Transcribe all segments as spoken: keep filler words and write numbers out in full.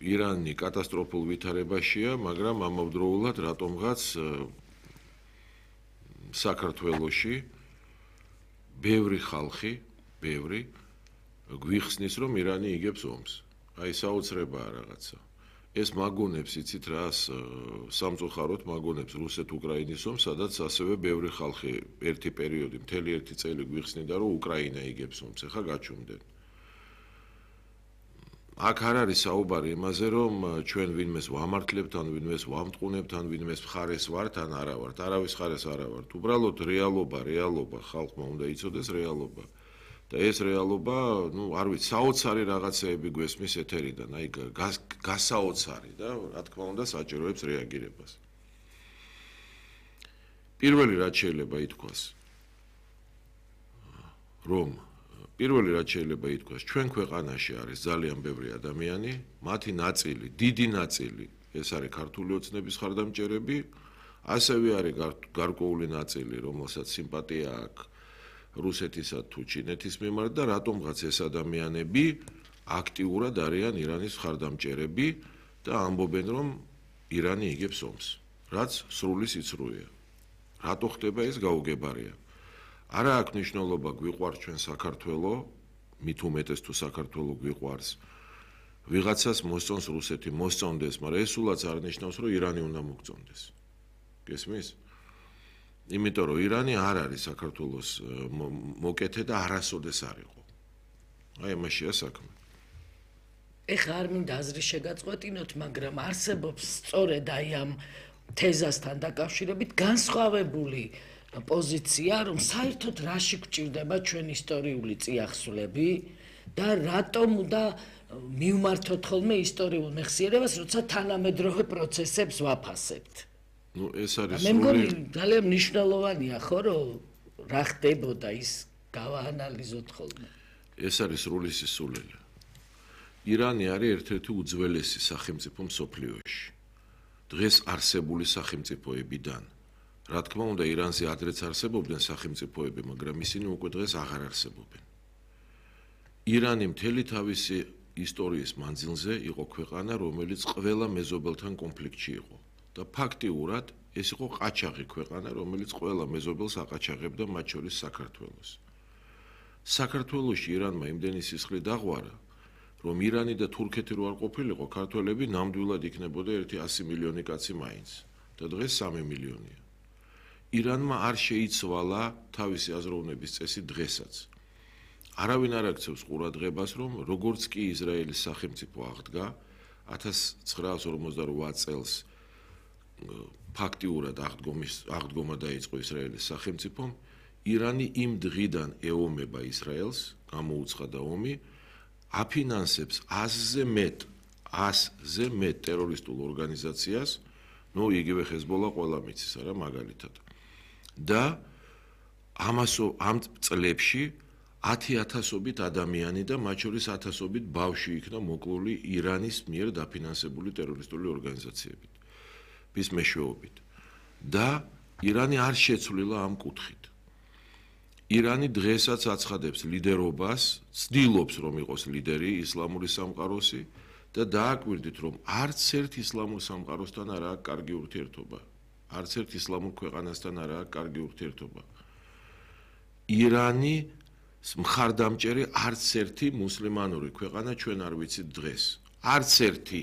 ირანი კატასტროფულ ვითარებაშია, მაგრამ ამავდროულად რატომღაც საქართველოში ბევრი ხალხი, ბევრი გვიხსნის, რომ ირანი იგებს ომს. აი საოცრებაა რაღაცა. ეს მაგონებს იცით რას სამწუხაროდ მაგონებს რუსეთ-უკრაინის ომს, სადაც ასევე ბევრი ხალხი ერთი პერიოდი, მთელი ერთი წელი გვიხსნიდა, რომ უკრაინა იგებს ომს, ეხა გაჩუმდნენ. აქ არ არის საუბარი იმაზე, რომ ჩვენ ვინმეს ვამართლებთ, ან ვინმეს ვამტყუნებთ, ან ვინმეს მხარეს ვართ, ან არა ვართ. არავის მხარეს არა ვართ. უბრალოდ რეალობა, რეალობა ხალხმა უნდა იცოდეს რეალობა. და ეს რეალობა, ну, არ ვიცი, საოცარი რაღაცეები გვესმის ეთერიდან, აი გასაოცარი და რა თქმა უნდა საჭიროებს რეაგირებას. პირველი რაც შეიძლება ითქვას, რომ პირველი რაც შეიძლება ითქვას, ჩვენ ქვეყანაში არის ძალიან ბევრი ადამიანი, მათი ნაწილი, დიდი ნაწილი, ეს არის ქართული ოცნების ხარდამჭერები, ასევე არის გარკვეული ნაწილი, რომელსაც სიმპათია აქვს რუსეთისა თუ ჩინეთის მიმართ და რატომღაც ეს ადამიანები აქტიურად არიან ირანის ხარდამჭერები და ამბობენ, რომ ირანი იგებს ომს, რაც სრული სიცრუეა. რატო ხდება ეს გაუგებარია? არა აქვს მნიშვნელობა გვიყვარს ჩვენ საქართველო, მით უმეტეს თუ საქართველო გვიყვარს, ვიღაცას მოსწონს რუსეთი, მოსწონდეს, მაგრამ ეს სულაც არ ნიშნავს, რომ ირანი უნდა მოგწონდეს. გესმის? იმიტომ რომ ირანი არ არის საქართველოს მოკეთე და არასოდეს არ იყო. აი ამაშია საქმე. ეხლა არ მინდა აზრი შეგაწყვეტინოთ, მაგრამ არსებობს სწორედ აი ამ თეზასთან დაკავშირებით განსხვავებული პოზიცია, რომ საერთოდ რაში გვჭირდება ჩვენ ისტორიული წიაღსვლები და რატომ უნდა მივმართოთ ხოლმე ისტორიულ მეხსიერებას, როცა თანამედროვე პროცესებს ვაფასებთ. Ну, ეს არის მე მგონი ძალიან მნიშვნელოვანია, ხო, რომ რა ხდებოდა ის გავაანალიზოთ ხოლმე. ეს არის სრული სისულელე. ირანი არის ერთ-ერთი უძველესი სახელმწიფო მსოფლიოში. დღეს არსებული სახელმწიფოებიდან. რა თქმა უნდა, ირანზე ადრეც არსებობდნენ სახელმწიფოები, მაგრამ ისინი უკვე დღეს აღარ არსებობენ. ირანი მთელი თავისი ისტორიის მანძილზე იყო ქვეყანა, რომელიც ყველა მეზობელთან კონფლიქტში იყო. და ფაქტიურად ეს იყო ყაჩაღი ქვეყანა, რომელიც ყველა მეზობელს აყაჩაღებდა, მათ შორის საქართველოს. საქართველოში ირანმა იმდენი სისხლი დაღვარა, რომ ირანი და თურქეთი რო არ ყოფილიყო, ქართველები ნამდვილად იქნებოდა ერთი ასი მილიონი კაცი მაინც და დღეს სამი მილიონია. ირანმა არ შეიცვალა თავისი აზროვნების წესი დღესაც. არავინ არ აქცევს ყურადღებას, რომ როგორც კი ისრაელის სახელმწიფო აღდგა ათას ცხრაას ორმოცდარვა წელს ფაქტიურად აღდგომის აღდგომა დაიწყო ისრაელის სახელმწიფომ, ირანი იმ დღიდან ეომება ისრაელს, გამოუცხადა ომი, აფინანსებს ათზე მეტ, ათზე მეტ ტერორისტულ ორგანიზაციას, ნუ იგივე ჰეზბოლა ყველა მიცის, არა მაგალითად. და ამასო ამ წლებში ათი ათასობით ადამიანი და მათ შორის ათასობით ბავშვი იქნა მოკლული ირანის მიერ დაფინანსებული ტერორისტული ორგანიზაციებით. bis მეშვეობით და ირანი არ შეცვლილა ამ კუთხით. ირანი დღესაც აცხადებს ლიდერობას, ცდილობს რომ იყოს ლიდერი ისლამური სამყაროსი და დააკვირდით რომ არც ერთ ისლამურ სამყაროსთან არ აქვს კარგი ურთიერთობა. არც ერთ ისლამურ ქვეყანასთან არ აქვს კარგი ურთიერთობა. ირანი მხარდამჭერი არც ერთი მუსლიმანური ქვეყანა ჩვენ არ ვიცით დღეს. არც ერთი.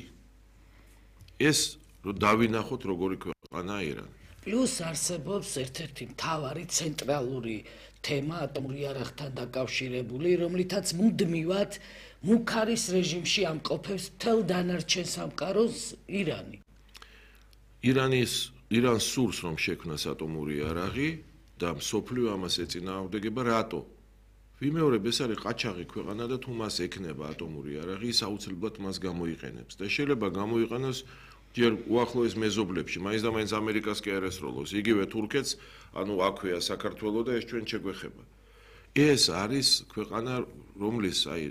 ეს რომ დავინახოთ როგორი ქვეყანაა ირანი. პლუს არსებობს ერთ-ერთი მთავარი ცენტრალური თემა ატომური იარაღთან დაკავშირებული, რომლითაც მუდმივად მუქარის რეჟიმში ამყოფებს მთელ დანარჩენ სამყაროს ირანი. ირანის ირანს სურს რომ შექმნას ატომური იარაღი და მსოფლიო ამას ეწინააღმდეგება, რატო? ვიმეორებ, ეს არის ყაჩაღი ქვეყანა და თუ მას ექნება ატომური იარაღი, ის აუცილებლად მას გამოიყენებს და შეიძლება გამოიყენოს ჯერ უახლოეს მეზობლებში, მაინც და მაინც ამერიკას კი არ ესროლოს, იგივე თურქეთს, ანუ აქვეა საქართველო და ეს ჩვენ შეგვეხება. ეს არის ქვეყანა, რომლის აი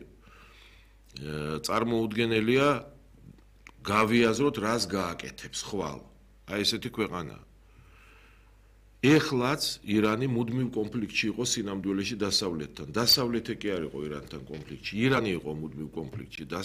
წარმოუდგენელია გავიაზროთ, რას გააკეთებს ხვალ. აი ესეთი ქვეყანაა. ეხლაც ირანი მუდმივ კონფლიქტში იყო სინამდვილეში დასავლეთთან. დასავლეთი კი არ იყო ირანთან კონფლიქტში. ირანი იყო მუდმივ კონფლიქტში.